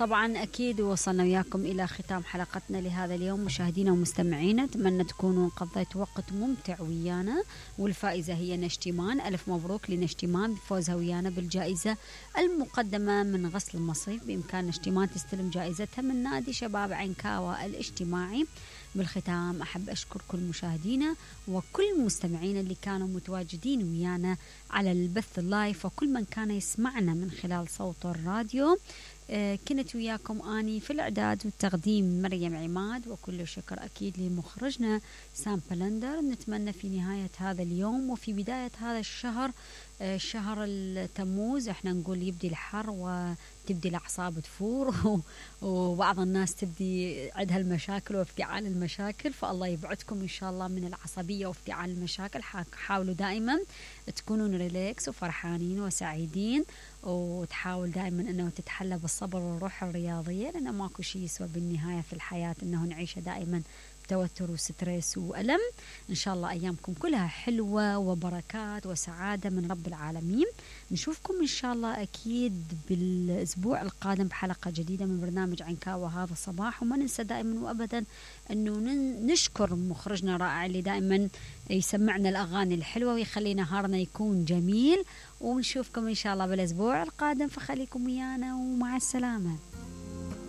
طبعا أكيد وصلنا وياكم إلى ختام حلقتنا لهذا اليوم مشاهدينا ومستمعينا. أتمنى تكونوا قضيتوا وقت ممتع ويانا، والفائزة هي نشتمان. ألف مبروك لنشتمان بفوزها ويانا بالجائزة المقدمة من غسل المصيف. بإمكان نشتمان تستلم جائزتها من نادي شباب عنكاوة الاجتماعي. بالختام أحب أشكر كل مشاهدينا وكل مستمعينا اللي كانوا متواجدين ويانا على البث اللايف، وكل من كان يسمعنا من خلال صوت الراديو. كنت وياكم أني في الإعداد والتقديم مريم عماد، وكل شكر أكيد لمخرجنا سام بلندر. نتمنى في نهاية هذا اليوم وفي بداية هذا الشهر، شهر التموز، احنا نقول يبدي الحر وتبدي الأعصاب تفور وبعض الناس تبدي عندها المشاكل وافتعال المشاكل، فالله يبعدكم إن شاء الله من العصبية وافتعال المشاكل. حاولوا دائما تكونون ريلاكس وفرحانين وسعيدين، وتحاول دائما أنه تتحلى بالصبر والروح الرياضية، لأنه ماكو شيء يسوى بالنهاية في الحياة أنه نعيش دائما توتر وستريس وألم. إن شاء الله أيامكم كلها حلوة وبركات وسعادة من رب العالمين. نشوفكم إن شاء الله أكيد بالأسبوع القادم بحلقة جديدة من برنامج عنكاوة هذا الصباح. وما ننسى دائما وأبدا أنه نشكر مخرجنا رائع اللي دائما يسمعنا الأغاني الحلوة ويخلي نهارنا يكون جميل. ونشوفكم إن شاء الله بالأسبوع القادم، فخليكم ويانا ومع السلامة.